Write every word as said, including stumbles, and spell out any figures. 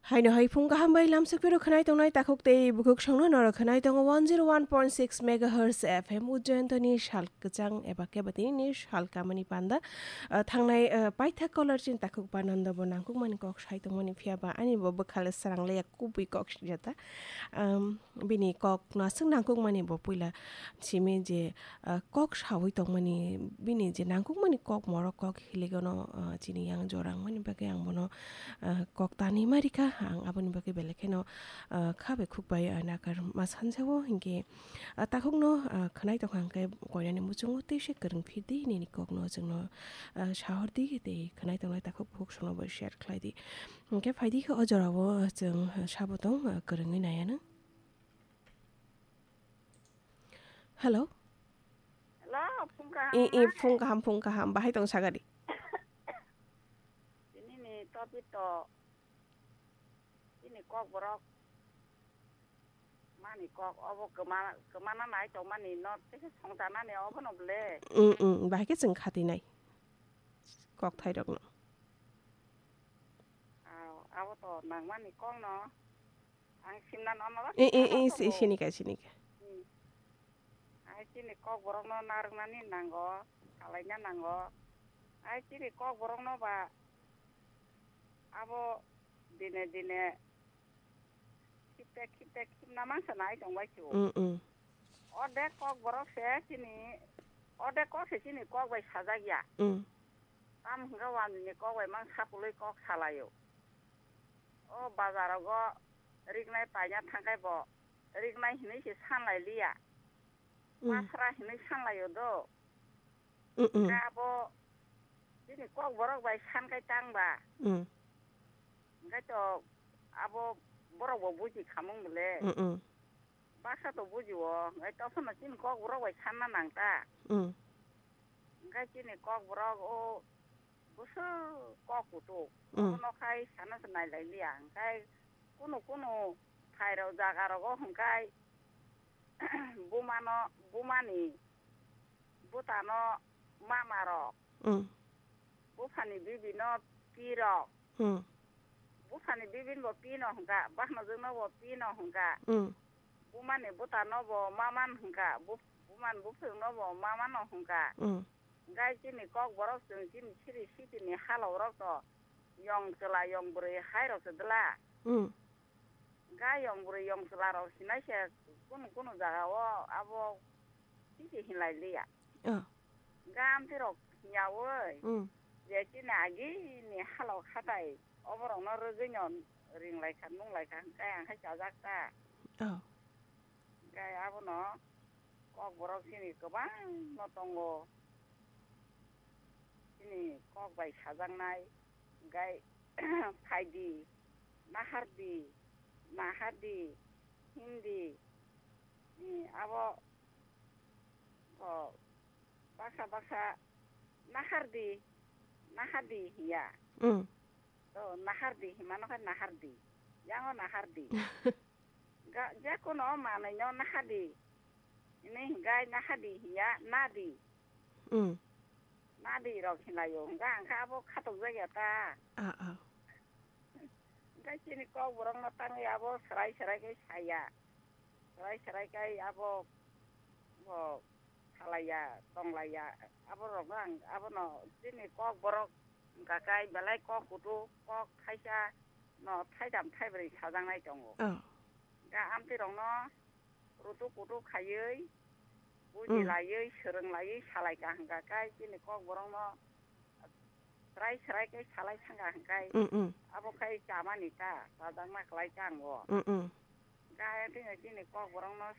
Haino hai phung kaham bai lamsok phiro khwnai tongnai takhuk tei bukhuk songno norok khwnai tongo one zero one point six megahertz F M Ujjayantani sal kwchang eba keba tini ni sal kamani panda. Ah, thangnai, ah, paithak caller chin takhuk ba nando bo nangkukmani kok sai tongmani phiya ba ani bo bwkhale srang le kubui kok sijata. Um, bini kok no aswk nangkukmani bo puila simi je, ah, kok sawi tongmani bini je nangkukmani kok morok kok hiligano, ah, chini yang jorang mani bagwi ang bono, ah, kok tani ma rikha, ang aboni bagwi belai kheno, ah, kha bai khuk bai, ah, nakar ma sanjao, hinkhe, ah, takhukno, ah, khwnai tongkha hwnkhe koinani muchungo tei se kwrwng phirdi nini kokno chwngno, ah, sahordi tei khwnai tongnai takhuk bukhuk songno bo share khlaidi. Hinkhe phaidi khe o jorao chwng, ah, sabo tong, ah, kwrwngwi naianw. Hello? Hello, phung kaham I, i, na? Phung kaham, phung kaham. Bahai tong sagadi? Tini ni topic to, tini kok borok mani kok obo kema, kemana nai tong mani no tese songcha nani obo no ble. Mm, mm, bahai khe chwng khati nai. Kok thai rok no. Aw, abo to nang mani kok no. Ang simna no no I, i, i, si, tongo. Sinika, sinika. Hmm. Ai chini kok borok no narwknani nango, salaina nango. Ai chini kok borok no ba abo dine dine khipte khipte khipna mangsa nai tong bai chu. Mm, mm. Orde kok borok se chini, orde kok se chini kok bai sajak ya. Mm. Tam hwnkhe wani ni kok bai mang sapului kok salaio. O bazarogo riknai paina thangkhai bo riknai hinui se sanlai liya. Mm. Masra hinui sanlaio do. Mm, mm. Khe abo bini kok borok bai sankhai tang ba. Mm. Hwnkhe to abo borok bo buji khamung bole. Mm, mm. Baksa to buji o, hwnkhe toksono chini kok borok bai sanna nang ta. Mm. Hwnkhe chini kok borok o bwswk kok kutuk. Mm. Obono khai sana se nailai liya. Hwnkhe kunu kunu phairok jaga rogo hwnkhe bumano, bumani bwtano mama rok. Mm. Buphani bibi no pi rok. Hmm. Buphani bibin bo pino hwnkha, bahnojwkno bo pino hwnkha. Hmm. Bumani bwtano bo maman hwnkha, bu-, buman buphirokno bo mamano hwnkha. Hmm. Hwnkhe chini kok borok chwng chini siri sitini halok rok to yong chwla yong bwrwi hai rok se dwla. Hmm. Ga yong bwrwi yong chwla rok sinai se kunu kunu jaga o abo titi hinlai liya. Oh. Ga amtwi rok hinya oi. Mm. Je chini agi ni halok hatai oborok no rwgwi no ringlai kha nunglai kha hwnkhe ang khai chajak ta. Oh. Hwnkhe abono kok borok chini kwbang no tongo. Chini kok bai sajaknai, gai phaidi, nahardi, nahardi, hindi, ni abo, o, baksa baksa nahardi, nahardi hiya. Mm. To nahardi himano khe nahardi. Yango nahardi. Ga-, je kono manwi no nahadi. Hini hwnkhe nahadi hiya nadi. Mm. Nadi rok hinlaio. Hwnkhe ang khe abo khatok jakya ta. Ah, ah. Hwnkhe chini kok borok no tangwi abo swrai swrai khe saya. Swrai swrai khe abo bo khalaiya, tonglaiya. Abo rok no ang abono chini kok borok hwnkha khe belai kok kutuk, kok thaisa no thaitham thaibrwi sajaknai tongo. Oh. Ga amtwi rok no rutuk kutuk khaiwi, buji Mm. laiwi, swrwng laiwi salai ka hwnkha khe chini kok borok no swrai swrai khe salai thangkha hwnkhe Mm, mm. abo khai chamani ta, chajakna kwlai ta ango. Mm, mm. Ga ayang twi chini kok borok no